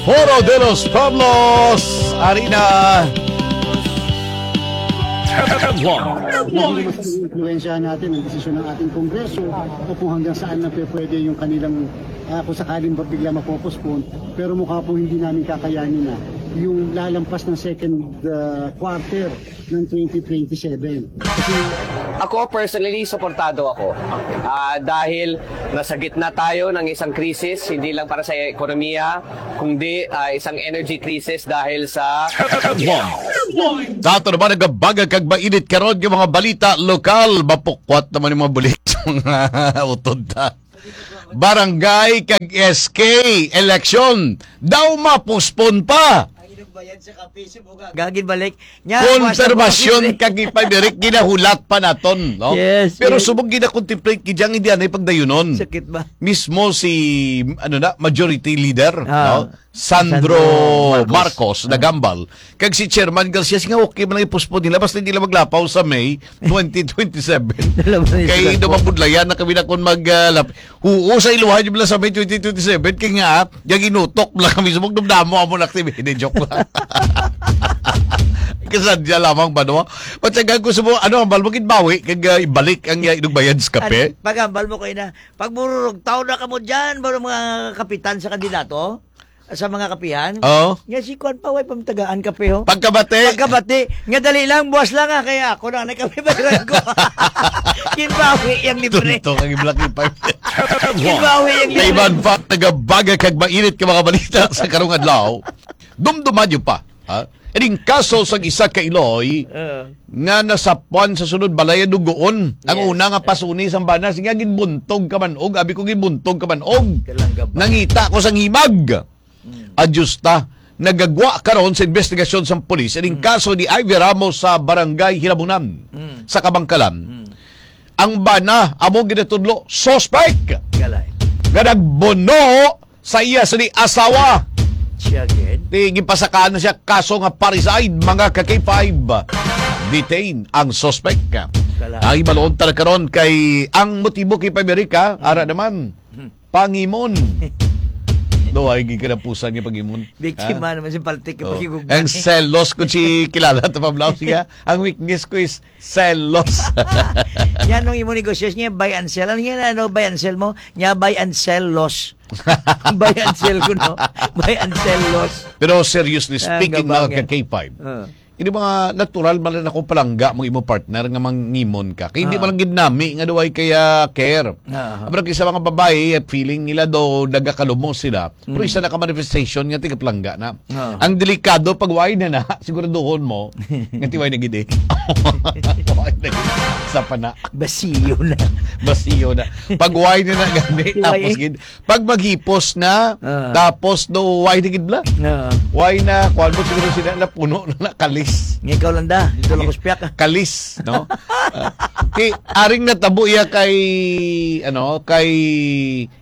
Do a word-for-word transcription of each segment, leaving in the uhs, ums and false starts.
Foro de los Pueblos, Arena. Headline. Naging mas influensya natin ang desisyon ng ating Kongreso o kung hanggang saan na pe-, pwede yung kanilang, ah, kung sakaling ba bigla mapopostpone. Pero mukha po hindi namin kakayanin na yung lalampas ng second, ah, quarter ng twenty twenty-seven. Kasi Ako, personally, suportado ako. Ah, dahil nasa gitna tayo ng isang krisis, hindi lang para sa ekonomiya, kundi, ah, isang energy crisis dahil sa Headline. Sa ato naman nagabaga kag mainit karon nga mga balita lokal, mapukwat naman yung mga bulik sa mga utod ta. Barangay kag S K election daw mapospon pa. Ang inugbayan sa kape, subuga. Gagin balik. Nya, Konfirmasyon kag ipamirik ginahulat pa naton, no? Yes, Pero yes. subong gina-contemplate gid yang hindi anay pagdayunon. Sakit ba? Mismo si, ano na, majority leader, Ah, no? Sandro Sandro Marcos. Marcos, Ah. nagambal. Kag si Chairman Garcia, nga okay man lang i-postpone nila, basta hindi lang maglapaw sa May twenty twenty-seven. Alam mo, Kay Sandro. daw mabudlayan na kami na kung mag, ah, lap-, Oo, sa iluhan yung sa May twenty twenty-seven, kay nga, yung inutok lang kami, sumog dumdamo amo na activity. Hindi, joke lang. Kasadya lamang ba, no? Patsaga ko sa mo, ano, ang balbukid bawi, kag, ah, ibalik ang, ah, inugbayan sa kape. An-, pagambal mo kayo na, pag mururog, tao na ka mo dyan, ba, mga kapitan sa kandidato? Sa mga kapihan? Oo. Nga si Kwan pa, way pamtagaan kape, ho? Pagkabati. Pagkabati. Nga dali lang, buwas lang, ah, kaya ako na, nagkape ba yung ko? Kinbawi yung libre. Tunto kang iblaki pa. Kinbawi yung May libre. iban pa, nagabaga kag mainit ka mga balita sa karong adlaw. Dumduman niyo pa, ha? Ining kaso sa isa ka Iloy Oo. nga nasapuan sa sunod balay dugoon. Ang Yes. una nga pasuni sang bana, sige, ginbuntog ka man og, abi ko, ginbuntog ka man og. Kalanggaba. Nangita ko sang himag. Mm. Adyos ta, nagagwa karon sa investigasyon sang pulis ining Mm. kaso ni Ivy Ramos sa Barangay Hinabunan, Mm. sa Kabangkalan. Mm. Ang bana, amo ginatudlo, suspek Galay. nga nagbuno sa iya sini asawa. Siya gid. Di, gipasakaan na siya kaso nga parricide, mga ka K five. Detain ang suspek. Kala. Ang ibalon ta na karon kay ang motibo kay Pamerica, ara naman, Hmm. pangimon. Duhay gid kanapusan niya pangimon. Biktima Ha? naman si Paltik Oh. yung pagigugma. Ang selos ko si kilala ta pablaw siya. Ang weakness ko is selos. Yan ang imo negosyo niya, buy and sell. Ano yan, ano, buy and sell mo? Niya, buy and sell loss. Buy and sell ko, no? Buy and sell loss. Pero seriously Ah, speaking, gabang mga yan. ka K five, Ah. ini mga natural man lang akong palangga mo imo partner nga mangimon ka. Kay hindi Ah. man lang gid nami nga duway kaya care. Ah. Pero kay sa mga babae, feeling nila daw nagakalumo sila. Pero Mm. isa na ka manifestation nga tigapalangga na. Ah. Ang delikado pag why na na, siguraduhon mo, nga tiway na gid eh. Why na gid? Sa pana. Basiyo na. Basiyo na. Pag why na na gani, Tiway tapos eh. gid. Pag maghipos na, Ah. tapos do why na gid bla? Ah. Why na, kuwan mo siguro sila na puno na na kalis. Nga ikaw lang da, dito lang Ay, kuspyak ka. kalis, no? Ah, kay, aring natabo iya kay, ano, kay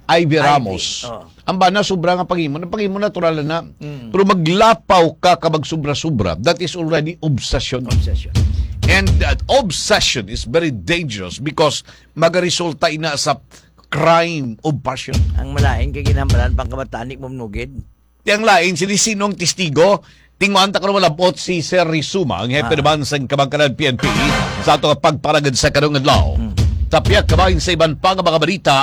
Ivy Ivy, Ramos. Oh. Ang bana, sobra nga pangimo. Ang pangimo natural na. Mm. Pero maglapaw ka ka magsobra-sobra, that is already obsession. Obsession. And that obsession is very dangerous because magaresulta ina sa crime of passion. Ang malain kay ginhambalan pang kabataan ni Mom Nugid. Ti ang lain, sini sinong testigo? Tinguan ta karon malabot si Sir Rizuma, ang hepe Ah. naman sa Kabangkalan P N P, sa ato nga pagparagad sa karong adlaw. Mm. Tapyak kabahin sa iban pa nga mga balita,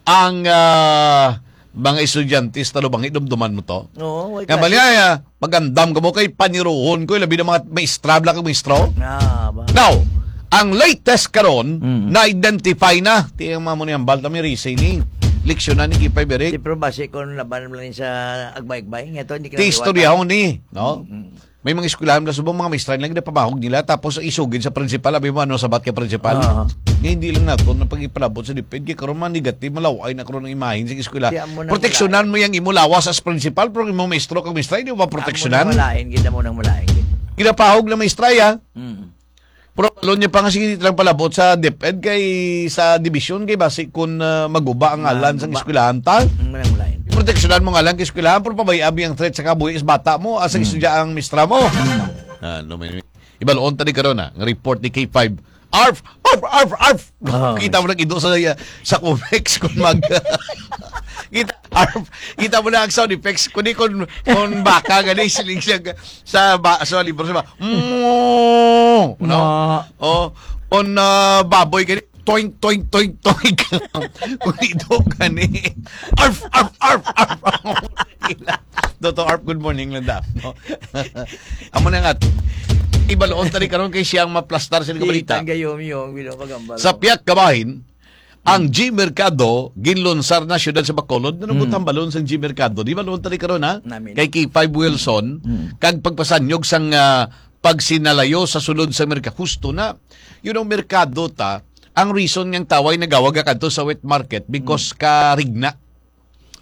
ang, ah, mga estudyante sa Talubangi, dumduman mo to? Oo, way Nga klase. bali, ah, magandam ka mo kay paniruhon ko, labi ng mga maestra, bla kag maestro. Ah, ba? Now, ang latest karon, Mm. na-identify na. Ti ang mga mo ni hambal, tami, Rizay ni. Leksyon na ni Kipay Berik. Di, pero base kung laban lang sa agbay-agbay, nga to, hindi Ti istorya ko ni, no? Mm. May mga eskwelahan na subong mga maestra lang na pamahog nila, tapos isugid sa principal, abi mo, ano sabat ka principal? Oo. Nga hindi lang nato na pag-ipalabot sa DepEd, kay karon man negative, malaway na karon ang imahin sa eskwela. Kaya mo na Proteksyonan mo yung imo lawas as principal, pero imo maestro kag maestra, hindi mo Amo proteksyonan. nang malain, kita mo nang malain, gid. Ginapahog na maestra, ya. Mm. Pero alon niya pa nga sige lang palabot sa DepEd kay sa division kay basi kun, ah, maguba ang Ah, ngalan sang guba. eskwelahan ta. Ang malain-malain. Proteksyonan mo ngalan kay eskwelahan, pero pabay-i abi ang threat sa kabuhi sa bata mo, asa Hmm. istorya ang mistra mo. Hmm. Ah, no, may, ibaloon ta di karon, ah, nga report ni K five. Arf! Arf! Arf! Arf! Ah. Kita mo nag-ido sa, sa Comex kung mag-, Kita, arf, kita mo na ang sound effects. Kundi kung, kung baka, gani, siling siya ga-, sa ba-, sa libro, sa ba-, "Mm," no? Ma- Oh, kung, ah, baboy, gani, "Toink, toink, toink, toink." Kung ito, gani, "Arf, arf, arf, arf." Doktor Arf, good morning lang daw, no? Amo na nga, ibaloon tani karon kay siyang maplastar sa balita. Ang gayom yung, you know, pagambal. Sa Piak Kabahin, ang G Mercado, ginlunsar na siyudad sa Bacolod. Ano mo Mm. tambalon sang G Mercado? Di ba, luon tali karon, ha? Namin. Kay K five Wilson, Mm. kag pagpasanyog sang, ah, pagsinalayo sa sulod sa Merka-, husto na. You know, merkado ta, ang reason nga ang taway nagawag kadto sa wet market because Mm. karigna.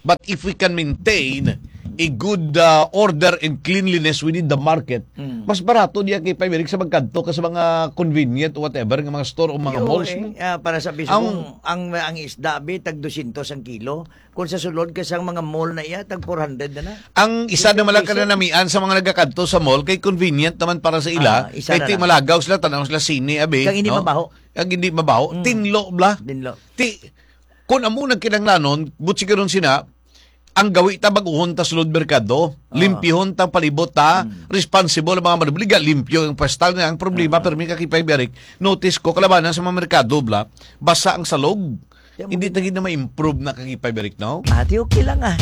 But if we can maintain a good, uh, order and cleanliness within the market, Mm. mas barato diya kay Pay Eric sa magkadto ka sa mga convenient, whatever, nga mga store o mga Yo, malls eh, mo. Ah, para sa Ang bisubong, ang, ang isda, bi, tag dosyentos ang kilo. Kung sa sulod ka sa mga mall na iya, tag four hundred na na. Ang isa Fifty naman lang pesos. Kanamian sa mga nagakadto sa mall, kay convenient naman para sa ila. Ah, isa Kay na ti lang. Malagaw sila, tanaw sila sine, abi, Kag hindi no? Mabaho. Kag hindi mabaho. Mm. Tinlo, bla. Tinlo. Ti, kung amo nagkinahanglanon, butsi karon sina, ang gawi ta baguhon ta sulod merkado, Ah. limpyuhon ta palibot ta, Mm. responsible ang mga manubli, ga limpyo ang pwesto nga ang problema, Ah. pero may kakipay biyarik, notice ko, kalabanan sa mga merkado, bla, basa ang salog. Kaya mo Hindi gid- ta gid na ma-improve na kakipay biyarik, no? Ah, di okay lang, ah.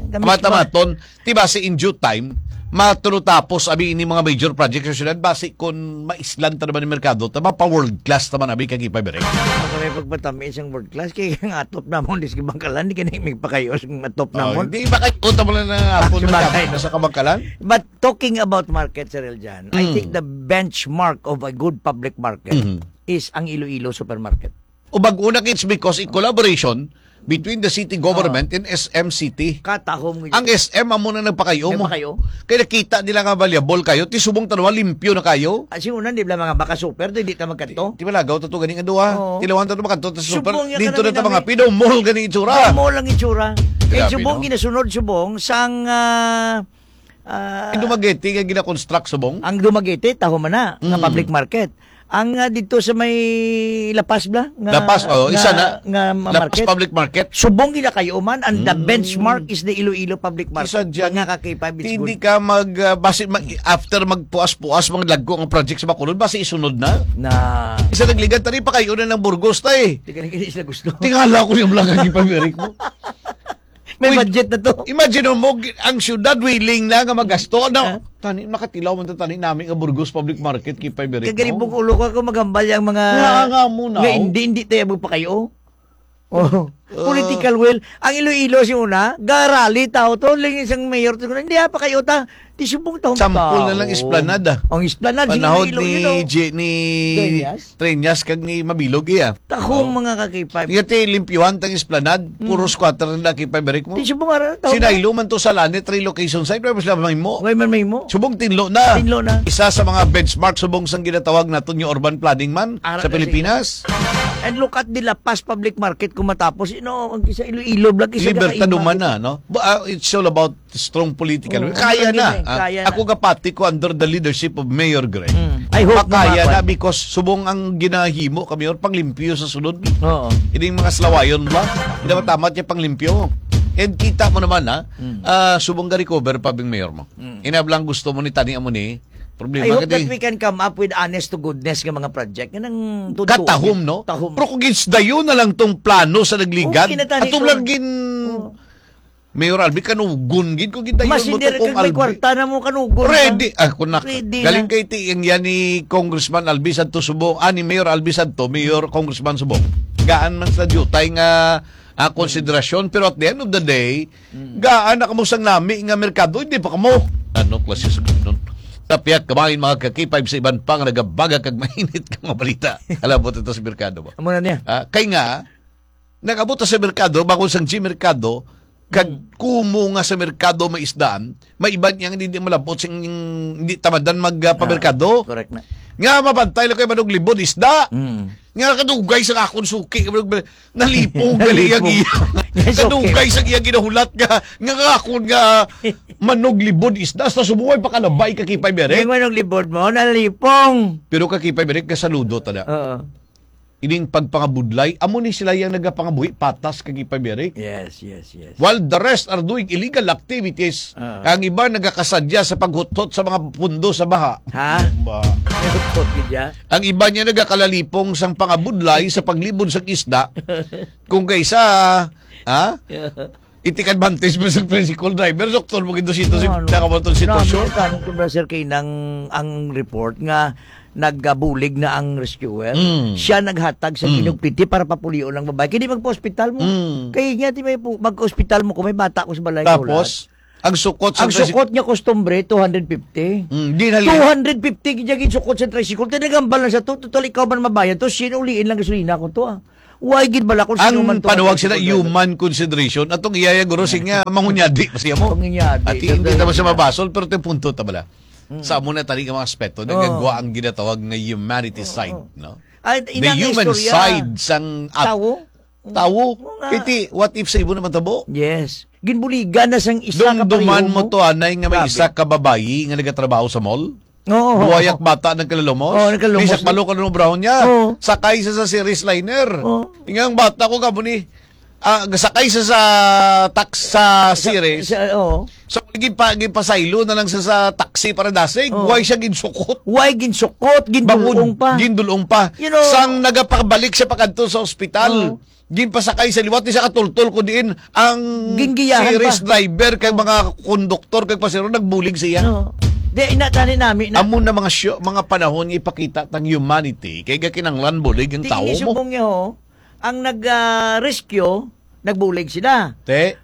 Kami Mata-maton, Ti basi in due time, matulotapos abi ini mga major project sa syudad, basi kun maislan ta naman ni merkado, ta mapa world class naman abi kag ipaberek. Baka may pagpatami isang world class, kay ang atop namon, dis Bangkalan, di ka na may pakayo sa atop Oh, namon. Hindi ba kayo, kung tamo lang na Ah, atop sa na bagay, no? Sa Kabangkalan? But talking about market, Sir Eljan, I Mm. think the benchmark of a good public market Mm. is ang Iloilo Supermarket. O bag-o na, it's because in collaboration between the city government Ah. and S M City. Katahom nga Ang yun. S M amo na nagpakayo mo. Nagpakayo? Kaya nakita nila nga valuable kayo, ti subong tanwa, limpyo na kayo. Ah, si una, di ba, mga baka super, di, di ta magkadto? Di, di malagaw ta to ganing adwa. Oo. Tilawan ta to makadto ta sa super. Subong niya Dito ka na namin ta mga nami. Pino mall gani itsura. Mall ang itsura. Eh, Grabe, subong no? Ginasunod, subong sang, ah, Ah, Ang Dumaguete nga gina-construct subong? Ang Dumaguete, taho man na, nga Mm. public market. Ang, ah, dito sa may La Paz bla, nga, La Paz, oh, nga, isa na. Nga ma-, La Paz market. Public Market. Subong gila kayo man, and the Mm. benchmark is the Iloilo Public Market. Isa dyan, Mga ka-K five, it's hindi good. Ka mag, ah, basi mag, after magpuas-puas, mga lagko ang project sa Bacolod, basi isunod na. Na. Isa nagligad, tani pa kayo na ng Burgos, tay. Di ka na, hindi sila gusto. Tingala ko yung vlog ang ipamirik mo. May Uy, budget na to. Imagine mo, gi-, ang syudad willing na nga magasto. Ano? Ah. Tani, makatilaw man ta tani nami nga Burgos Public Market, kay Pay Berek, Kagalibog no? Ulo ko, ako magambal yung mga Nga, nga mo, no? Nga hindi, hindi tayo magpakayo. Oh. Ah. Political will. Ang Iloilo, si una, garali tao to, ling isang mayor to, hindi pa kayo ta. Ti subong tahong Sampol na lang tao. Esplanade, ah. Ang Esplanade, Panahon Iloilo, ni you know. J-, ni Treñas? Treñas kag ni Mabilog, iya. Tahong Oh. Mga ka-K five. Iya, ti limpyuhan tang Esplanade, Mm. Puro squatter na K five, Eric mo. Ti subong ara, tahong Sinaylo man to sa Lanit, relocation site, wala sila mahimo. Wala man mahimo. Subong tinlo na. Tinlo na. Isa sa mga benchmark subong sang ginatawag naton yung urban planning man Ara sa na Pilipinas. Sige. And look at the La Paz Public Market kung matapos, you know, ang isa Iloilo, blag isa Libertad ka humana, no? But, uh, it's all about strong political will. Oo, kaya na. Kaya na. Ako kapati ko under the leadership of Mayor Gray. Mm. I hope makaya na, because subong ang ginahimo ka, Mayor, panglimpyo sa sulod. Oo. Ining mga salawayon ba? Hindi ba tama siya panglimpyo? And kita mo naman, ha? Mm. Ah, subong ga-recover pa bing Mayor mo. Mm. Inablang gusto mo ni tani amo ni. Problema I hope that we can come up with honest to goodness nga mga project. Katahom, no? Katahom. Pero kung ginsdayo na lang tong plano sa nagligad, okay na tani atong lang gin- Oo. Mayor Albi, kanugon gid ko gid dayon. Mas mo hindi to kung may Albi. Kwarta na mo, kanugon ka. Ready. Ah, kung nak-, ready na. Galing kay ti-, ang yan ni Congressman Albi Santo Subong, ah, ni Mayor Albi Santo, Mayor Congressman Subong. Gaan man sa diyutay nga, ah, konsiderasyon, pero at the end of the day, mm, gaan na kamo sang nami nga merkado, hindi pa kamo. Ano klase sa ganun? Tapyat kamain mga kakipay sa iban pa nga nagabaga kag mainit ka mga balita. Alam mo, ito sa merkado ba? Amo na niya. Ah, kay nga, nag-abot sa merkado, bakod sang G Merkado, kag Hmm. kumo nga sa merkado may isdaan, may iban yang hindi malabot sing hindi tamadan mag, ah, pamerkado. Ah, correct na. Nga mabantay lang kay manuglibod isda. Hmm. Nga kadugay sa akon suki, nalipong gali ang Nalipong. Iya. Yes, okay. Kadugay sa iya ginahulat nga, nga akon nga manuglibod isda, sa subong pakalabay ka kipay berek. Yung manuglibod mo, nalipong. Pero ka kipay berek, kasaludo ta na. Oo. ining pagpangabudlay, amo ni sila yang nagapangabuhi patas kag ipamirik. Yes, yes, yes. While the rest are doing illegal activities, Ah. ang iba nagakasadya sa paghuthot sa mga pundo sa baha. Ha? Ba? May huthot gid ya? Ang iba niya nagakalalipong sang pangabudlay sa paglibod sang isda. Kung kaysa, ha? I-take advantage mo sa tricycle driver, doktor mo gid sa Ano? Nakamotor sitwasyon. Grabe, kanang sobra, sir, kay nang ang report nga nagabulig na ang rescuer. Mm. Siya naghatag sa Mm. kinugpiti para papulion ang babae. Kini magpa-ospital mo. Mm. Kay nga, di may pu-, magka-ospital mo kung may bata ko sa balay ko Tapos, lahat. ang sukot sa Ang tricycle sukot niya, customary, two hundred fifty. Mm, di na li- Two hundred fifty gid yung sukot sa tricycle. Tinagambal na sa to. Total, ikaw man mabayad to. Sino uliin lang gasolina ko to, ah? Why gid bala kung sino Ang man to panuwag ang sila, tricycle driver? Human consideration. Atong iyaya, guro, sige nga, mangunyadi pa siya mo. Mangunyadi, At hindi totoo naman siya na. Mabasol, pero ito yung punto, ta bala. Mm. Sa amo na tani nga mga aspeto, Oo. nagagawa ang ginatawag nga humanity Oo, side, oo. no? Ay, The inang human istorya. Side sang at-, Tawo? Tawo? Oo nga. Piti, what if sa ibo naman tabo? Yes. Ginbuligan na sang isa ka Dumduman pareho mo mo? To, anay, nga may Grabe. Isa ka babayi nga nagatrabaho sa mall? Oo, oo, Buhayak oo. Bata nagkalalumos? Oo, nagkalalumos. May isa ka balo ka nung brown niya. Oo. Sakay sa, sa series liner. Oo. Ingang bata ko kamo ni, ah, sakay sa, sa tax-, sa Sa, series. Sa, oo. So, gin-, pa, ginpasaylo na lang sa, sa taxi para dasig. Oo. Why siya ginsukot? Why ginsukot? Gindulong Bangod, pa. Gindulong pa. You know, Sang nagapabalik siya pakadto sa ospital. Oo. Ginpasakay sa liwat, di siya katultol, kundi ang Gingiyahan series pa. Driver kag Oo. Mga konduktor kag pasahero nagbulig siya. Oo. Di, ina, tani nami na. Amo na mga syo-, mga panahon nga ipakita tang humanity, kay gakinanglan bulig ang Di tawo ini mo. Subong niya, ho. Ang nag, ah, rescue, nagbulig sila. Te.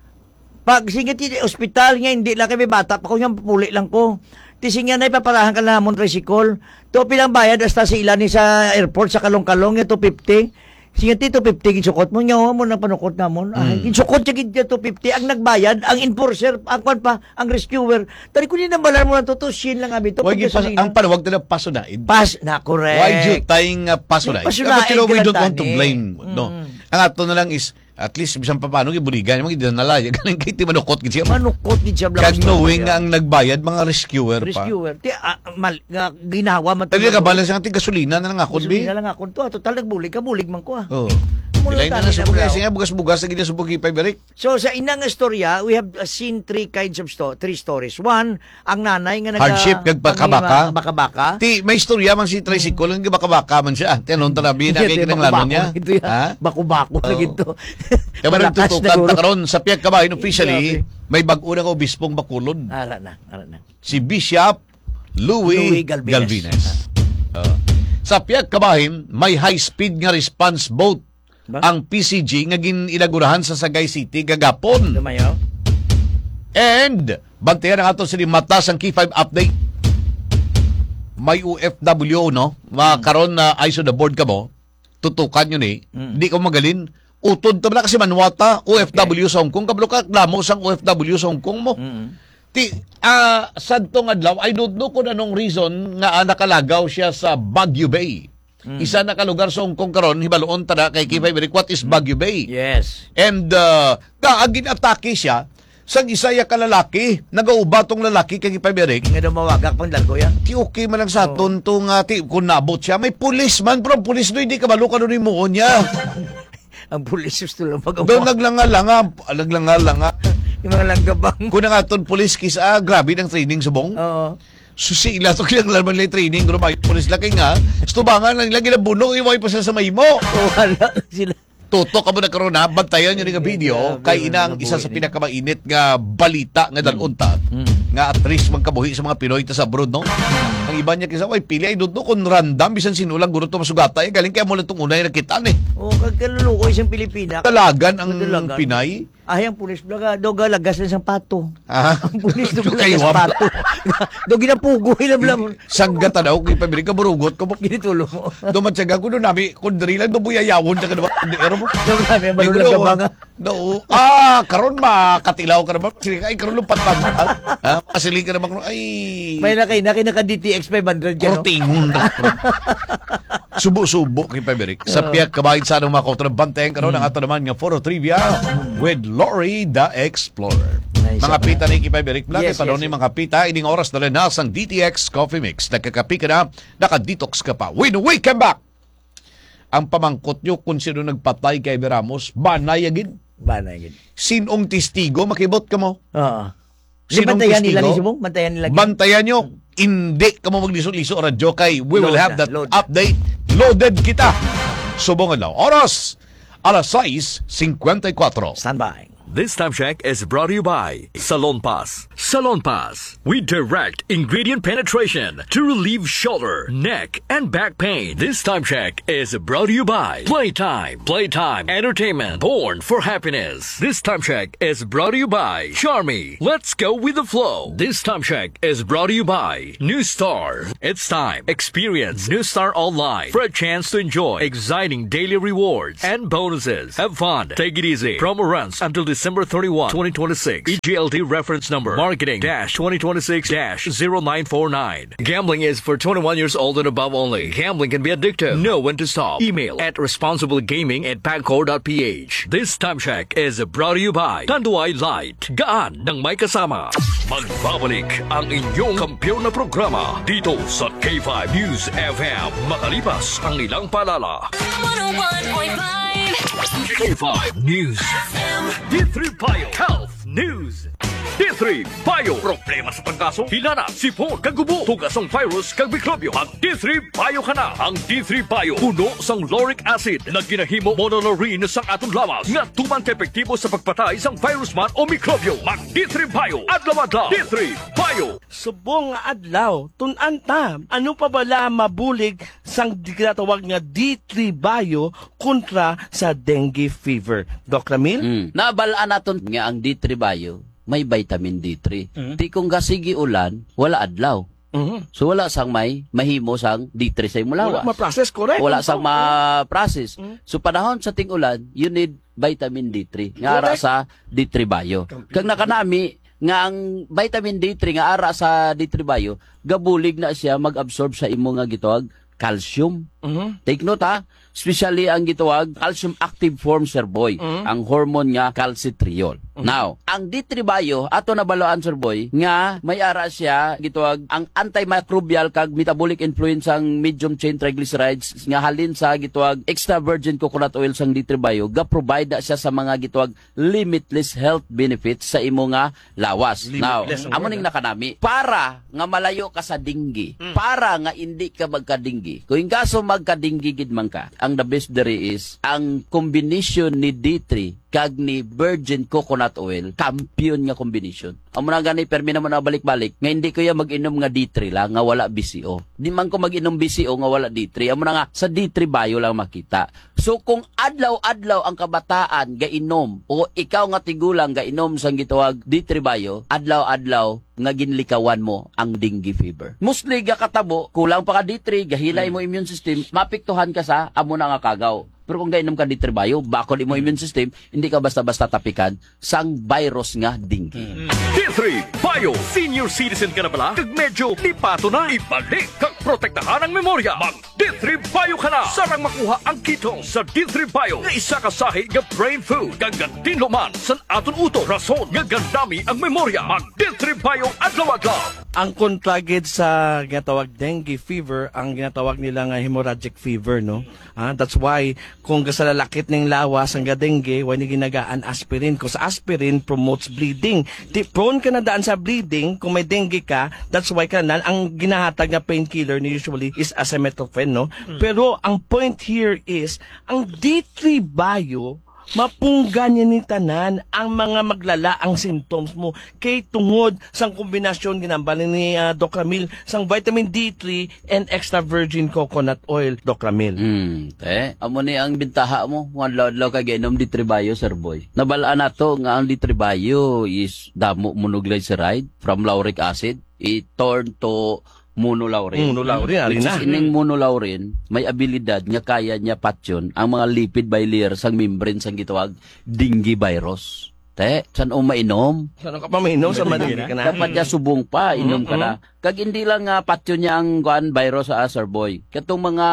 Pag sige ti ospital nga, hindi lang kami bata pa ko, nga puli lang ko. Ti sige na, ipaparahan ka na namon tricycle. To, pilang bayad hasta sa ila ni sa airport sa Kalong-Kalong, nga two fifty. Sige ti, two fifty, ginsukot mo, nga, oh, mo nang panukot namon. Ay, Mm. ginsukot siya gid niya, two fifty. Ang nagbayad, ang enforcer, ang kwan pa, ang rescuer. Tari ko, di nambalan mo na to, to, shin lang abi to, Why pag you pas-, gasolina. Ang panawag nila, pasunaid. Pas-, na, correct. Why you tying, uh, pasunaid? Pasunaid But you know, we ka don't lang want to tani. Blame, no? Mm. Ang ato na lang is, at least, bisan pa paano, gibuligan, mag-, nalaya, galing kay ti manukot gid siya. Manukot gid siya, Kag Black knowing Star, nga ang nagbayad, mga rescuer pa. Rescuer. Ti, ah, mal-, nga ginawa man Tayo to, ka balas ang ti gasolina na lang ako, Gasolina bi. Lang ako to, ah. Total, nagbulig ka, bulig man ko, ah. Oh. Amo lang Ilay na tani na subog na, lang. Siya, bugas-bugas, lagi na subog, ipay, Berik. So, sa inang istorya, we have, uh, seen three kinds of sto-, three stories. One, ang nanay nga naga-, Hardship kag baka-baka. Pangima-, baka-baka. Ti, may istorya man si tricycle, nga baka-baka man siya. Ti, anong tanabi na Hindi, kay ti, kinanglanon bako-bako niya? Ito yan. Ha? Bako-bako na Oo. Ito. Kaya man Malakas na nagtutukan ta guro. Karon sa pihak kabahin officially, Grabe. May bag-o na ka obispong Bacolod. Ara na, ara na. Si Bishop Louis Louis Galvez. Galvez. Oo. Sa pihak kabahin, may high-speed nga response boat Ba? Ang P C G nga gin-inaugurahan sa Sagay City kagapon. Lumayo. And, bantayan ang ato sini mata sang K five update. May O F W, no? Ma-, Mm. karon na eyes on the board ka mo, tutukan yun eh. Mm. Di ka magalin. Utod ta bala kasi manuwata, O F W Okay. sa Hong Kong. Kabalo ka, lamo sang O F W sa Hong Kong mo. Mm. Ti, ah, sadtong adlaw, I don't know kung anong reason nga, ah, nakalagaw siya sa Baguio Bay. Mm. Isa na ka lugar sa Hong Kong karon, hibaluon ta na kay Kipay Berik, what is Baguio Bay? Yes. And, uh, ga-, gin-atake siya sang isa ya ka lalaki, nagauba tong lalaki kay Kipay Berik. Nga daw mawagak pang dalgo ya. Ti okay man lang sa Oo. aton to nga, ti, kung nabot siya, may pulis man, pero ang pulis do, hindi kabalo kung ano ni muon niya. Ang pulis gusto lang mag- Daw naglanga-langa, naglanga-langa. Yung mga langgabang. Kung ang aton pulis kis-, ah, grabe ng training subong. Oo. Susi ila to, kinahanglan man nila training, pero may pulis laki nga. Tubangan lang nila, ginabuno, iway pa sila sa mahimo. Oh, wala sila. Tutok ka mo na karon, ha? Bantayan nyo rin nga video. Grabe, Kay ina ang mga isa sa buhay ni. Pinakamainit nga balita nga Mm. dalon ta. Mm. Nga at least magkabuhi sa mga Pinoy ta sa abroad, no? Ang iba niya kisa, "Ay, pili, I don't know kung random, bisan sino lang, guro to masugata." Eh, galing kaya mo lang itong unay nakita, eh. Oh, kag kaluluoy siyang Pilipina. Dalagan ang Dalagan. Pinay. Ay, ang pulis bala, daw galagas na siyang pato. Ah. Ang pulis daw Daw galagas kaiwam. Pato. Daw ginapugoy na bala mo. Sangga ta daw, kay pabili ka, burugot ko mo. Ginitulo mo. Dumatsaga ko doon, nami, kung diri lang, daw buyayawon na ka naman, kung di, ano mo? Daw kami, Di ko marunong daw, ka ba nga? Daw, ah, karon makatilaw ka naman. Sige, ay, karon lumpat pa. Ha? Kasiling ka naman, ay. May na kayo, na kayo naka-D T X five hundred ka, no? Kortingon na. Subo-subo kay Pabrik. Sa Oo. Pihak kabahin sa anong mga kauturan, bantayan karon ang Mm. ato naman nga Foro Trivia with Lori the Explorer. Nice. Mga pita ni kay Pabrik Vlog, Yes, ito daw yes, ni yes. Mga pita, ining oras na rin na sang D T X Coffee Mix. Nagkakapi ka na, naka-detox ka pa. When we come back, Ang pamangkot nyo kung sino nagpatay kay Amy Ramos, banay agin. Banay agin. Sinong testigo, makibot ka mo? Oo. Di, sinong bantayan nila testigo? Ni subong? Bantayan nila. Bantayan nyo. Hindi ka mo magliso-liso, radyo, kay we will have that update. Loaded kita. Subong adlaw. Oras, alas sais cincuenta y cuatro. Standby. This time check is brought to you by Salon Pass. Salon Pass. We direct ingredient penetration to relieve shoulder, neck, and back pain. This time check is brought to you by Playtime. Playtime Entertainment, born for happiness. This time check is brought to you by Charmy. Let's go with the flow. This time check is brought to you by New Star. It's time. Experience New Star Online for a chance to enjoy exciting daily rewards and bonuses. Have fun. Take it easy. Promo runs until December thirty-one, twenty twenty-six. E G L T reference number, marketing dash twenty twenty-six dash zero nine four nine. Gambling is for twenty-one years old and above only. Gambling can be addictive. Know when to stop. Email at responsiblegaming at pagcor dot p h. This time check is brought to you by Tanduay Light. Gaan ng may kasama. Magbabalik ang inyong kampiyon na programa dito sa K five News F M. Makalipas ang ilang paalala. One oh one point five K five News F M. D three Bio Health News. D three Bio. Problema sa tanggaso, hilanat, sipon, kag ubo, tuga sang virus kag mikrobyo. Mag D three Bio ka na. Ang D three Bio puno sang lauric acid na ginahimo monolaurin sang aton lawas nga tuman ka epektibo sa pagpatay sang virus man o mikrobyo. Mag D three Bio adlaw-adlaw. D three Bio. Subong nga adlaw, tun-an ta, ano pa bala mabulig sang di-, ginatawag nga D three Bio kontra sa dengue fever? Doc Ramil? Mm. Nabal-an naton nga ang D three Bio may vitamin D three. Mm. Ti kung gasigi ulan, wala adlaw. Mhm. So, wala sang may mahimo sang D three sa imo lawas. Wala ma-process, correct. Wala sang ma-process. Mm. So, panahon sa ting-ulan, you need vitamin D three nga ara sa D three Bio. Kag nakanami nga ang vitamin D three nga ara sa D three Bio, gabulig na siya mag-absorb sa imo nga gitawag calcium. Mhm. Take note, ha, especially ang gitawag calcium active form, Sir Boy, mhm, ang hormone nga calcitriol. Mhm. Now, ang D three Bio, ato nabalaan, Sir Boy, nga may ara siya gitawag ang antimicrobial kag metabolic influence sang medium chain triglycerides nga halin sa gitawag extra virgin coconut oil sang D three Bio, ga-provide na siya sa mga gitawag limitless health benefits sa imo nga lawas. Now, limitless ang word, ning nakanami. Para nga malayo ka sa dengue, mm, para nga indi ka magka-dengue. Kung in kaso magka-dengue gid man ka, ang the best diri is ang combination ni D three kag ni virgin coconut oil, kampiyon nga combination. Amo na gani, permi naman na balik-balik, nga hindi ko ya mag-inom nga D three lang, nga wala B C O. Di man ko mag-inom B C O nga wala D three. Amo na nga, sa D three Bio lang makita. So, kung adlaw-adlaw ang kabataan gainom o ikaw nga tigulang gainom sang gitawag D three Bio, adlaw-adlaw nga ginlikawan mo ang dengue fever. Mostly gakatabo, kulang pa ka D three, gahilay mo immune system, mapiktuhan ka sa amo na nga kagaw. Pero kung gainom ka D three Bio, bakod imo immune system, hindi ka basta-basta tapikan sang virus nga dengue. D three Bio, senior citizen ka na bala? Kag medyo lipato na, ibalik kag protektahan ang memorya. Mag D three Bio ka na. Sarang makuha ang ketone sa D three Bio nga isa ka sahi nga brain food kag gatinlo man san aton utok, rason nga gandami ang memorya. Mag D three Bio adlaw-adlaw. Ang kontra gid sa ginatawag dengue fever, ang ginatawag nila nga hemorrhagic fever, no? Ah, that's why kung gasalalakit ning lawas ang dengue, why ni ginagaan aspirin? 'Cause aspirin promotes bleeding. Di, prone ka na daan sa bleeding kung may dengue ka. That's why ka na, ang ginahatag nga painkiller ni usually is acetaminophen, no? Mm. Pero ang point here is, ang D three Bio, mapunggan niya ni tanan ang mga maglala ang symptoms mo. Kay tungod sang kombinasyon, ginambal ni, ah, Doc Ramil, sang vitamin D three and extra virgin coconut oil, Doc Ramil. Hmm, te, amo ni ang bintaha mo. Kung adlaw-adlaw ka giinom D three Bio, Sir Boy. Nabal-an nato nga ang D three Bio is damo monoglyceride from lauric acid. It turn to monolaurin. Monolaurin, ari na. Which is, ining monolaurin, may abilidad nga kaya niya patyon ang mga lipid bilayer sang membrane sang gitawag dengue virus. Te, san-o mainom? San-o ka pa mainom sa dengue ka na? Dapat niya subong pa, inom ka na. Mm-mm. Kag hindi lang nga patyon niya ang, kuan, virus, ah, Sir Boy. Katong mga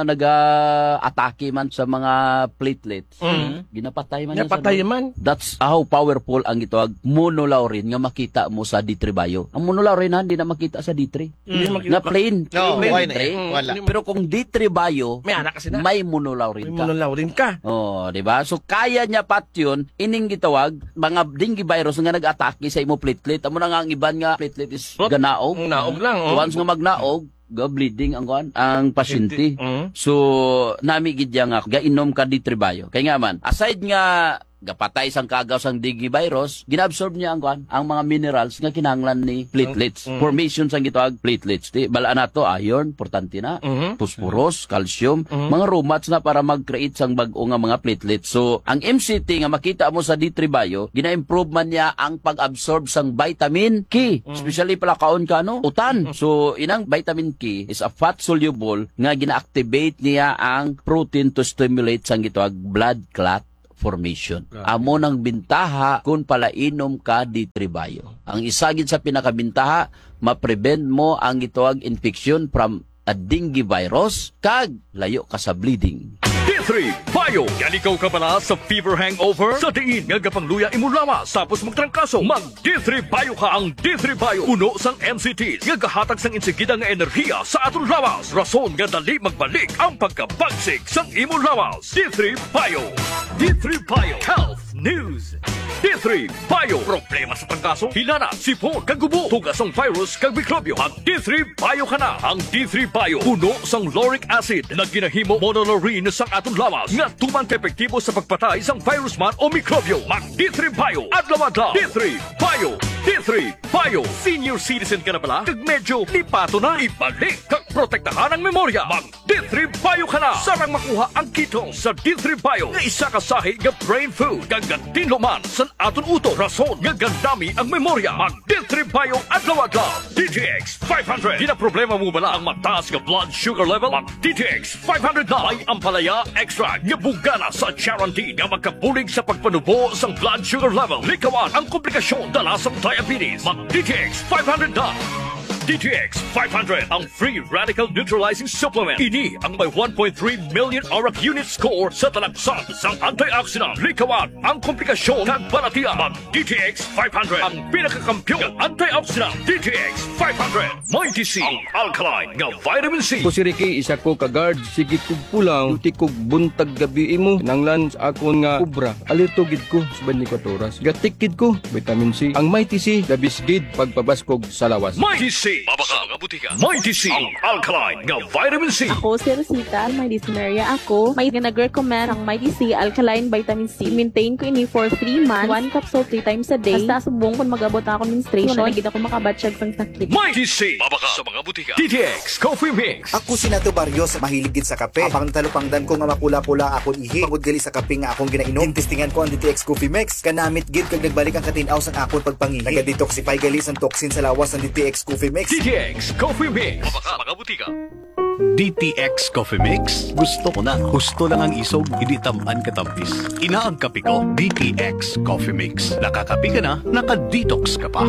naga-atake man sa mga platelets, Mm. ginapatay man niya, Sir Napatay Boy. man. That's how powerful ang gitawag monolaurin nga makita mo sa D three Bio. Ang monolaurin, ha, hindi na makita sa D three. Mm. Hindi makita. Na plain. No, Plain why D three. na eh? Wala. Pero kung D three Bio, May anak kasi na. may monolaurin May ka. monolaurin ka. Oh, di ba? So, kaya niya patyon ining gitawag mga dengue virus nga nag-atake sa imo platelet. Amo na nga ang iban nga platelet is Rot-, ganaog. ang naog lang, oh. Once nga magnaog, ga bleeding ang kuan, ang pasyente. Pasyente, mm. So, nami gid ya nga gainom ka D three Bio. Kay nga man, aside nga gapatay sang kagaw sang dengue virus, ginaabsorb niya ang kuan, ang mga minerals nga kinahanglan ni platelets. Mm. Formation sang gitawag platelets. Di, bala nato, iron, importante na. Mhm. Phosphorus, calcium, Mhm. mga romats na para mag-create sang bag-o nga mga platelets. So, ang M C T nga makita mo sa D three Bio, gina-improve man niya ang pag-absorb sang vitamin K, Mm. especially palakaon ka, no? Utan. Mm. So, inang vitamin K is a fat soluble nga gina-activate niya ang protein to stimulate sang gitawag blood clot formation. Grabe. Amo nang bintaha kung palainom ka D three Bio. Ang isa gid sa pinakabintaha, ma-prevent mo ang gitawag infection from a dengue virus, kag layo ka sa bleeding. D three Bio. Yalikaw ka bala sa fever hangover? Sa diin nga gapangluya imo lawas tapos magtrangkaso? Mag D three Bio ka. Ang D three Bio puno sang M C T nga gahatag sang insigida nga enerhiya sa aton lawas, rason nga dali magbalik ang pagkabagsik sang imo lawas. D three Bio. D three Bio Health News. D three Bio. Problema sa trangkaso, hilana, sipon, kag gubo, tuga sang virus kag mikrobyo. Mag D three Bio ka na. Ang D three Bio puno sang lauric acid na ginahimo monolaurin sang aton lawas nga tuman ka epektibo sa pagpatay sang virus man o mikrobyo. Mag D three Bio adlaw-adlaw. D three Bio. D three Bio. Senior citizen ka na bala? Kag medyo lipato na? Ibalik kag protektahan ang memorya. Mag D three Bio ka na. Sarang makuha ang ketone sa D three Bio nga isa ka sahi nga brain food kag gatinlo man sa aton utok, rason nga gandami ang memorya. Mag D three Bio adlaw-adlaw. D T X five hundred. Ginaproblema mo bala ang mataas nga blood sugar level? Mag D T X five hundred na. May ampalaya extract nga bungana sa charantin nga makabulig sa pagpanubo sang blood sugar level. Likawan ang komplikasyon dala sang diabetes. Mag D T X five hundred na. D T X five hundred, ang free radical neutralizing supplement. Ini ang may one point three million arak unit score sa talagsan sang antioxidant. Likawan ang komplikasyon kag balatian. Mag D T X five hundred, ang pinakakampiyon nga antioxidant. D T X five hundred. Mighty C, ang alkaline nga vitamin C. Ako si Ricky, isa ko ka guard. Sige kog pulaw, duty kog buntag gabi imo. Kinahanglan sa akon nga obra, alerto gid ko sa twenty-four oras. Gatik gid ko, vitamin C. Ang Mighty C, the best gid pagpabaskog sa lawas. Mighty C, mabakal nga butika. Mighty C, ang alkaline nga vitamin C. Ako si Rosita, may dysmenorrhea ako. May nag-recommend ang Mighty C alkaline vitamin C. Maintain ko ini for three months. One capsule three times a day. Hasta subong kung mag-abot na akong menstruation, wala na gid ako makabatyag sang sakit. Mighty C, mabakal sa mga butika. D T X Coffee Mix. Ako si Nato Barrios, mahilig gid sa kape. Apang natalupangdan ko nga mapula-pula akon ihi, bangod gali sa kape nga akong ginainom. Gintistingan ko ang D T X Coffee Mix. Kanamit gid kag nagbalik ang katin-aw sang akon pagpangihi. Naga-detoxify gali sang toxin sa lawas ang D T X Coffee Mix. D T X Coffee Mix. Mabakal sa mga butika. D T X Coffee Mix? Gusto ko na. Husto lang ang isog, hindi tam-an katampis. Ina ang kape ko, D T X Coffee Mix. Nakakape ka na, naka-detox ka pa.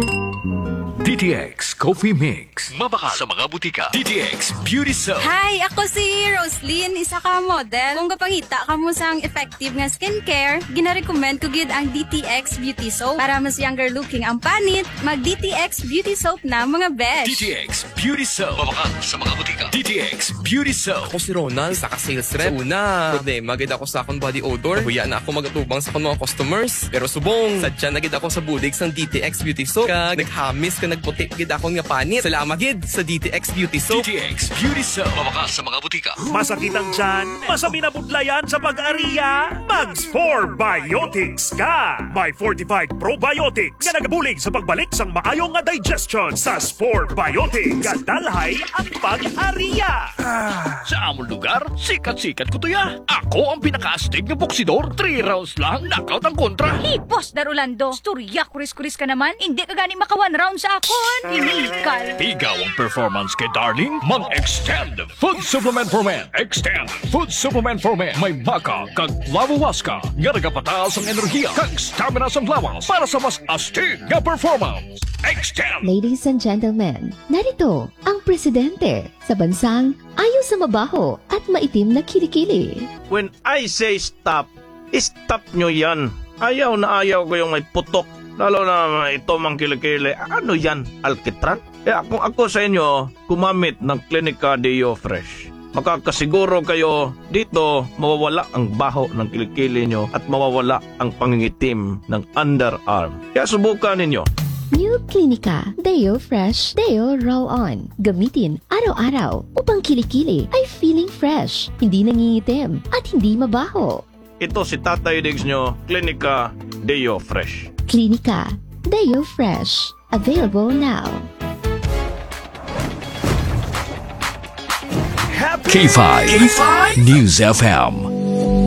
D T X Coffee Mix. Mabakal sa mga butika. D T X Beauty Soap. Hi, ako si Roslyn, isa ka model. Kung gapangita kamo sang effective nga skincare, ginarecommend ko gid ang D T X Beauty Soap. Para mas younger looking ang panit, mag D T X Beauty Soap na, mga besh. D T X Beauty Soap. Mabakal sa mga butika. D T X Beauty Soap. Ako si Ronald, isa ka sales rep. Sa una, problema gid ako sa akong body odor. Nahuya na ako mag-atubang sa akong mga customers. Pero subong, sadya na gid ako sa bulig sang D T X Beauty Soap. Kag naghamis ka, nagputi gid akon nga panit. Salamat gid sa D T X Beauty Soap. D T X Beauty Soap. Mabakal sa mga butika. Masakit ang tiyan? Masabi na budlayan sa pag-ariya? Mag Spore Biotics ka! May fortified probiotics nga nagabulig sa pagbalik sang maayo nga digestion sa Spore Biotics. Kadalhay ang pag-ariya! Sa amon lugar, sikat-sikat ko to ya. Ako ang pinakaastig nga boksidor. Three rounds lang, knockout ang kontra. Hipos, Dar Orlando. Storya, kuris-kuris ka naman. Hindi ka gani maka one round sa akon. Ini Tikal. Pigaw ang performance kay Darling? Mag-Extend Food Supplement for Men. Extend Food Supplement for Men. May maca kag flavowaska nga nagapataas ang enerhiya kag stamina sang lawas para sa mas astig nga performance. Extend! Ladies and gentlemen, narito ang presidente sa bansang ayaw sa mabaho at maitim na kilikili. When I say stop, stop nyo yan. Ayaw na ayaw ko yung may putok. Lalo na ito mang kilikili. Ano yan? Alkitran? Kaya kung ako sa inyo, gumamit ng Clinica Deo Fresh. Makakasiguro kayo dito mawawala ang baho ng kilikili nyo at mawawala ang pangingitim ng underarm. Kaya subukan ninyo. New Clinica Deo Fresh Deo Roll On. Gamitin araw-araw upang kilikili ay feeling fresh, hindi nangingitim, at hindi mabaho. Ito si Tatay Diggs nyo, Clinica Deo Fresh. Clinica Deo Fresh. Available now. K five News F M.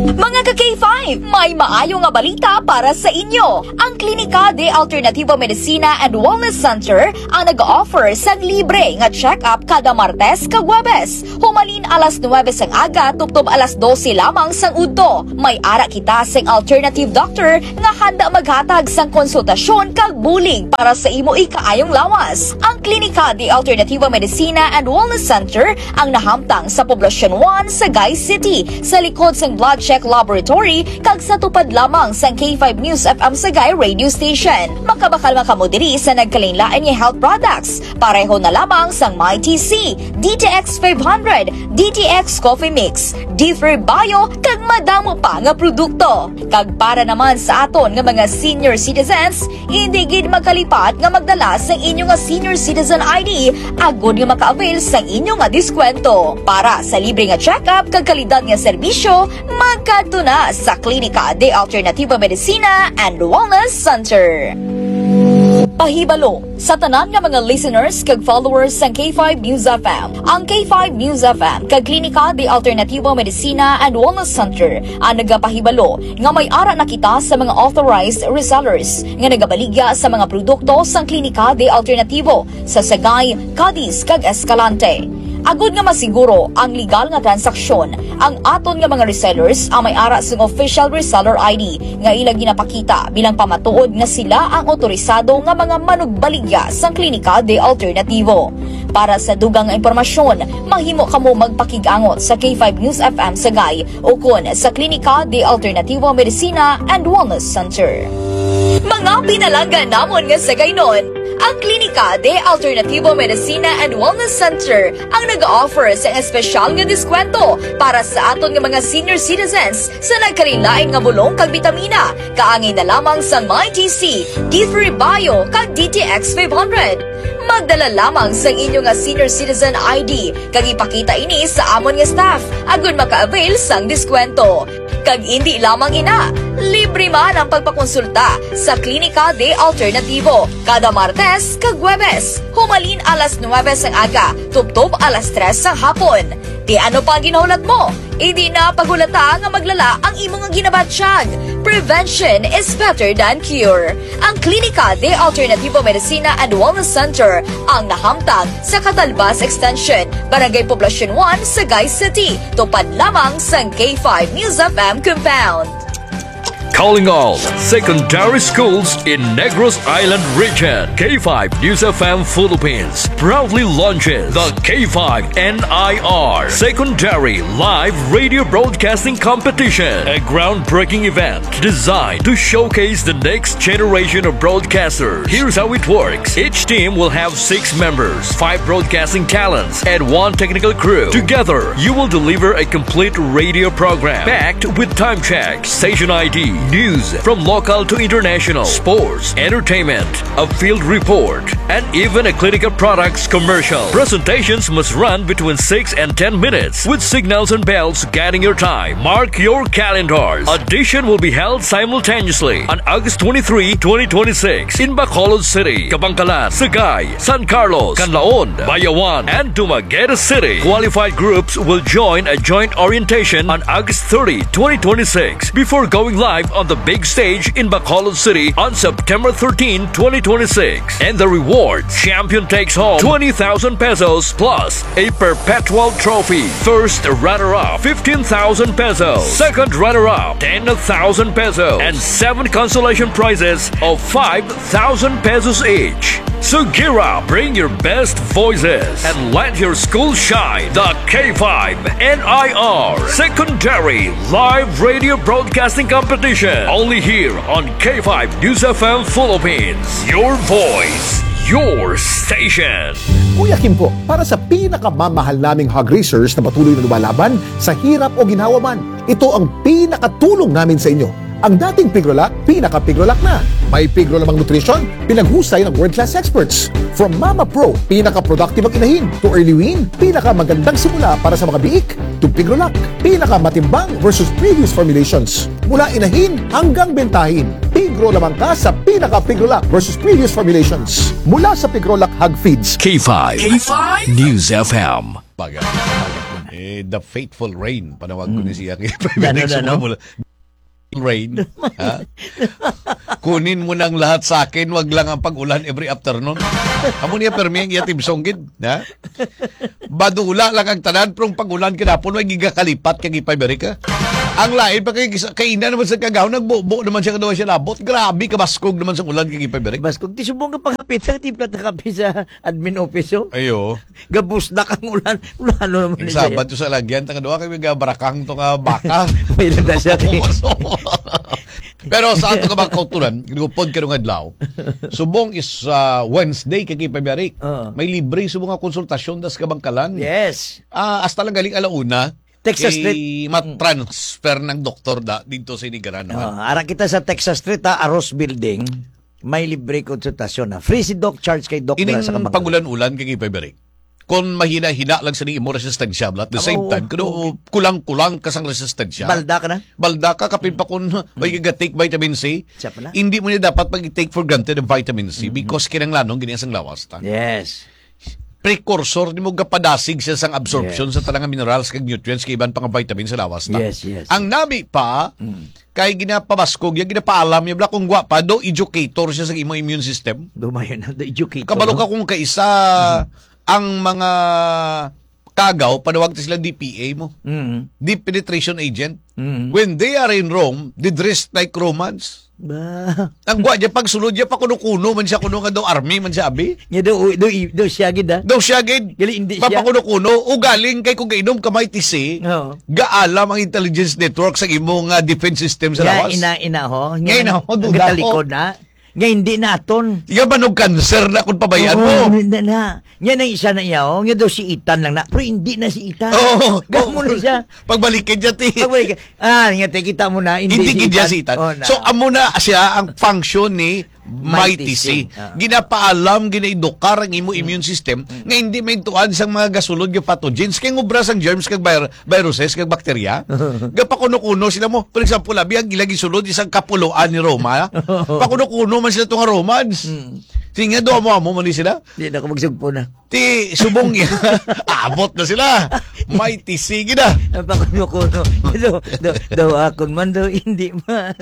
Mga ka K five, may maayo nga balita para sa inyo. Ang Klinika de Alternativo Medicina and Wellness Center ang nag-offer sang libre nga check-up kada Martes kag Huwebes, humalin alas nuwebe sang aga tubtob alas dose lamang sang udto. May ara kita sing alternative doctor nga handa maghatag sang konsultasyon kag bulig para sa imo ikaayong lawas. Ang Klinika de Alternativo Medicina and Wellness Center ang nahamtang sa Poblacion one, Sagay City, sa likod sang Blood Check Laboratory kag sa tupad lamang sang K five News F M Sagay Radio Station. Makabakal man kamo diri sa nagkalainlain nga health products, pareho na lamang sang My T C, D T X five hundred, D T X Coffee Mix, D three Bio, kag madamo pa nga produkto. Kag para naman sa aton nga mga senior citizens, hindi gid magkalipat nga magdala sang inyo nga senior citizen I D agod nga maka-avail sang inyo nga diskwento. Para sa libre nga check-up kag kalidad nga serbisyo, magkadto na sa Klinika de Alternativo Medicina and Wellness Center. Pahibalo sa tanan nga mga listeners kag followers sang K five News F M. Ang K five News F M kag Klinika de Alternativo Medicina and Wellness Center ang nagapahibalo nga may ara na kita sa mga authorized resellers nga nagabaligya sa mga produkto sang Klinika de Alternativo sa Sagay, Cadiz, kag Escalante. Agod nga masiguro ang legal nga transaksyon, ang aton nga mga resellers ang may ara sang official reseller I D nga ila ginapakita bilang pamatuod nga sila ang otorisado nga mga manugbaligya sang Klinika de Alternativo. Para sa dugang nga impormasyon, mahimo kamo magpakig-angot sa K five News F M Sagay ukon sa Klinika de Alternativo Medicina and Wellness Center. Mga pinalangga namon nga Sagaynon, ang Klinika de Alternativo Medicina and Wellness Center ang nag-offer sang espesyal nga diskwento para sa aton nga mga senior citizens sa nagkalainlain nga bulong kag bitamina. Kaangay na lamang sang My T C, D three Bio, kag D T X five hundred. Magdala lamang sang inyo nga senior citizen I D kag ipakita ini sa amon nga staff agod maka-avail sang diskwento. Kag indi lamang ina, libre man ang pagpakonsulta sa Klinika de Alternativo kada Martes kag Huwebes, humalin alas nuwebe sang aga tubtob alas tres sang hapon. Ti ano pa ang ginahulat mo? Indi na paghulata nga maglala ang imo nga ginabatyag. Prevention is better than cure. Ang Klinika de Alternativo Medicina and Wellness Center ang nahamtang sa Catalbas Extension, Barangay Poblacion one, Sagay City, tupad lamang sang K five News F M compound. Calling all secondary schools in Negros Island Region. K five News F M Philippines proudly launches the K five N I R Secondary Live Radio Broadcasting Competition, a groundbreaking event designed to showcase the next generation of broadcasters. Here's how it works. Each team will have six members, five broadcasting talents, and one technical crew. Together, you will deliver a complete radio program packed with time check, station I D, news from local to international, sports, entertainment, a field report, and even a clinical products commercial. Presentations must run between six and ten minutes, with signals and bells guiding your time. Mark your calendars. Audition will be held simultaneously on August twenty-three, twenty twenty-six, in Bacolod City, Kabankalan, Sagay, San Carlos, Canlaon, Bayawan, and Dumaguete City. Qualified groups will join a joint orientation on August thirty, twenty twenty-six, before going live on the big stage in Bacolod City on September thirteen, twenty twenty-six. And the reward, champion takes home twenty thousand pesos plus a perpetual trophy. First runner-up, fifteen thousand pesos. Second runner-up, ten thousand pesos. And seven consolation prizes of five thousand pesos each. So gear up, bring your best voices, and let your school shine. The K five N I R Secondary Live Radio Broadcasting Competition. Only here on K five News F M Philippines. Your voice, your station. Kuya Kim po, para sa pinakamamahal naming hog raisers na patuloy na lumalaban sa hirap o ginhawa man, ito ang pinakatulong namin sa inyo. Ang dating Pigrolac, pinaka-Pigrolac na. May Pigro lamang nutrition, pinaghusay ng world-class experts. From Mama Pro, pinaka-productive ang inahin, to Early Wean, pinakamagandang simula para sa mga biik, to Pigrolac, pinakamatimbang versus previous formulations. Mula inahin hanggang bentahin, Pigro lamang ka sa pinaka-Pigrolac versus previous formulations. Mula sa Pigrolac Hog Feeds. K five K five News F M. Pag-, eh, the faithful rain, panawag ko ni siya. Dano, dano. Rain, ha? Kunin mo ng lahat sa akin, wag lang ang pag-ulan every afternoon. Amo niya, permi ang iya theme song gid, ha? Badula lang ang tanan, pero ang pag-ulan kinapon, may gigakalipat kag ipabalik, ha? Ang lain pa kay gisa-, kaina naman sa kagaw, nagbubo naman siya, kadwa siya labot. Grabe, kabaskog naman sa ulan kag ipabalik. Baskog, ti subong nga panghapit sa timpla ta kape sa admin office, oh. Ayo. Gabusdak ang ulan. Ulan, ano naman Ang niya? Sabado sa lagyan, tanga duha kay may gabarakang to nga baka. May landa siya, kay Pero sa ato ka mga kauturan, gupod karong adlaw. Subong is, ah, Wednesday, kay Pabiyari. Oo. May libre subong nga konsultasyon das kabangkalan. Yes. Ah, hasta lang galing alauna. Texas Street. Kay matransfer ng doktor da dito sa Inigaran naman. Oh, ara kita sa Texas Street, ha, Aros Building. May libre konsultasyon na. Free si Doc, charge kay Doc Ining sa kabangkalan. Pag-ulan-ulan kay Pabiyari. Kung mahina-hina lang sa imo resistensya, but at the same Oo, time, kuno oo. kulang-kulang ka sang resistensya. Balda ka na? Balda ka, kapin pa kung may ga-take vitamin C, Siya pala. hindi mo niya dapat pag-take for granted ang vitamin C Mm-hmm. because kinahanglanon gini sang lawas ta. Yes. Precursor nimo, gapadasig siya sang absorption Yes. sa tanang minerals kag nutrients kag iban pa nga vitamin sa lawas ta. Yes, yes. Ang nami pa, Mm. kay ginapabaskog, yung ginapaalam niya, bala, kung gwa pa, do educator siya sa imo immune system. Dumayo na, do educator, Kabalo no? ka kung kaisa Mm. ang mga kagaw, panawag ta sila D P A mo. Mm. Deep penetration agent. Mm. When they are in Rome, they dress like Romans. Ba? Ang gwa niya, pagsulod niya, pakuno-kuno man siya, kuno nga daw army man siya, abi. Nya daw, daw, daw siya gid, ah. Daw siya gid. Gali, hindi siya. Papakuno-kuno, o galing kay kung gainom ka may tisi, Oo. gaalam ang intelligence network sa imo nga defense system sa Nga, lawas. ina, ina, ho. Nga, Nga, ina, ho, ang duda, ho. katalikod na. Nga, hindi naton. Nga, manog cancer na kung pabayaan Oo, mo. hindi na. Nga, nang isa na iya, oh. Nga daw si Ethan lang na. Pero hindi na si Ethan. Oo. Gamo na siya. Pagbalikin niya, ti. Pagbalik. Ah, nga, te, kita mo na, hindi Hindi si gid niya Ethan. si Ethan. Oh, na. So, amo na siya ang function ni Mighty Mighty C. C. Ah. Ginapaalam, ginaedukar ang imo Mm. immune system Mm. nga hindi maintuan sang mga gasulod nga pathogens kay ngubra sang germs kag vir-, viruses kag bakterya. Gapakuno-kuno sila mo. For example, abi ang ilang gisulod isang kapuloan ni Roma. Pakuno-kuno man sila to nga Romans. Mm. Sige nga, do amo-amo man ni sila. Di na ako magsugpo na. Ti, subong niya. Abot na sila. May tisigi na. Ang pakuno-kuno. Daw, daw, daw akon man, daw hindi man.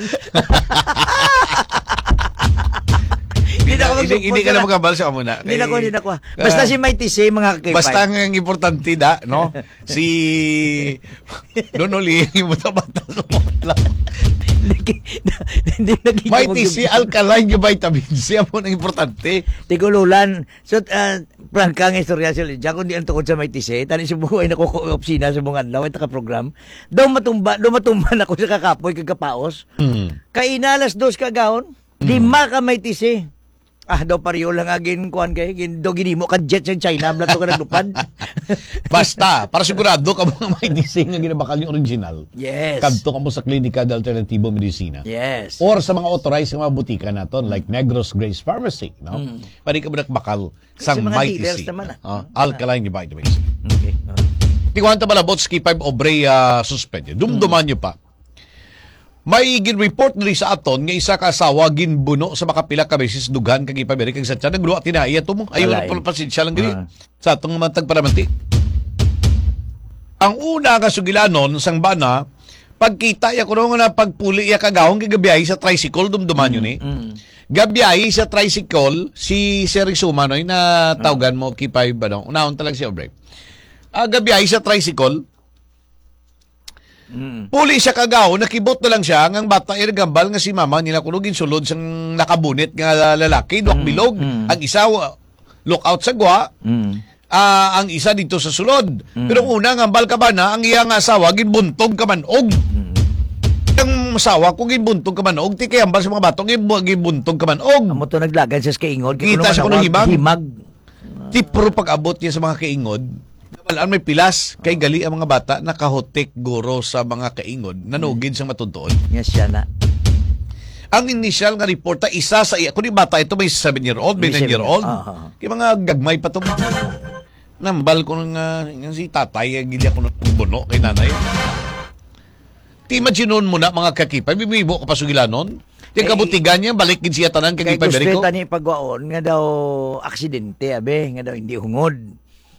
Hindi na ako Hindi, hindi magsugpo ka na na. magkabal sa amo na. Hindi na ako, Kay, hindi na ako. Basta ah, si Mighty C, mga kakipay. Basta ang, ang importante da, no? Si Don Oli, yung bata-bata sa mga lang. Hindi, hindi naging Mighty C, alkaline yung vitamin C, amo nang importante. Tigululan. So, ah, Prangka nga istorya si Lydia, kung di ang tungod sa may tisi, tani sa buhay na ko opisina sa mga adlaw, ito ka program. Daw matumba, daw matumba na ko sa kakapoy kag kapaos. Mm. Kaina alas dos ka gahon, Mm. lima ka may tisi. Ah, daw pariyo lang agin, kuwan kay, gin-, daw ginimo ka jet sa China, blato ka naglupad. Basta, para sigurado ka mga may tisi nga ginabakal yung original. Yes. Kadto ka mo sa Klinika de Alternatibo Medicina. Yes. Or sa mga authorized nga mga butika naton, like Negros Grace Pharmacy, no? Mm. Pwede ka mo nakbakal Sa sang mga Mighty dealers C. naman, ah. Ah, alkaline vitamins. Okay, ah. Tingwan ta palabot sa K five Obrey, ah, suspended. Dumduman Mm. niyo pa. May gin-report diri sa aton nga isa ka asawa ginbuno sa makapila ka beses dughan kag ipamirik kag sa tiyan. Nagluwa tinai ato mo. Ayaw Alay. na pala pasensya lang diri. Ah. Sa atong mga tagparamati. Ang una nga sugilanon sang bana, Pagkita ya kuno nga pagpuli ya kagahong, kay gabiyahe sa tricycle, dumduman yun eh. Mm. Gabiyahe sa tricycle si Sir Isuma, no, na tawgan mo, K five, ano, unahon ta lang siya, Obre. Ah, gabiyahe sa tricycle, Mm. puli siya kagahon, nakibot na lang siya, nga ang bata ay nagambal nga si mama nila kuno ginsulod sang nakabunit nga lalaki, duwang Mm, bilog. mm. Ang isa, wa-, look out sa gwa. Mm. Ah, ang isa dito sa sulod. Mm. Pero ang una nga hambal ka ba na, ang iya nga asawa ginbuntog ka manog. Mm. Ang asawa ko ginbuntog ka manog, ti kay hambal sa mga bato, ginbu-, ginbuntog ka manog. Amo to naglagay siya sa kaingod, kay Kita kuno siya kuno manawag, himag. Himag. Ti pero pag-abot niya sa mga kaingod, nabalaan may pilas, kay gali ang mga bata nakahutik guro sa mga kaingod, nanugid sa matuntuon. Yes, siya na. Ang initial nga report ta, isa sa iya, kung di bata ito, may seven year old, may May nine year old. seven. Ah, ah, ah. Kay mga gagmay pa to. Nambal ko nga, nga si tatay, eh, gilya ko ng buno kay nanay. Ti imagine mo na, mga kakipay, bibibo ka pa sugilanon. Ti ang Kay kabutigan niya, balik gid siya tanan, kay kakipay, gusto Berico. Tani pagwaon nga daw aksidente, abe, nga daw hindi hungod,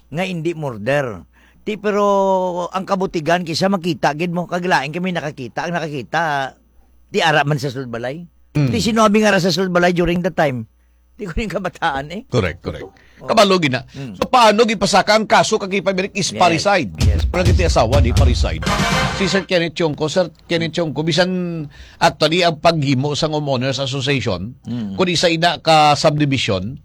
nga hindi murder. Ti, pero ang kabutigan, kisa makita gid mo, kag lain kami nakakita, ang nakakita, ti ara man sa sulod balay. Mm. Ti sino abi nga ara sa sulod balay during that time? Ti ko yung kabataan eh. Correct, correct. Oh. Kabalo gina. Mm. So, paano gipasaka ang kaso kag ipamirik is Yes. parricide? Yes, Pero parricide. Kiti asawa ni Ah. parricide. Si Sir Kenneth Chongco, Sir Kenneth Chongco, bisan actually ang paghimo sa homeowners association, Mm. kung isa ina ka subdivision,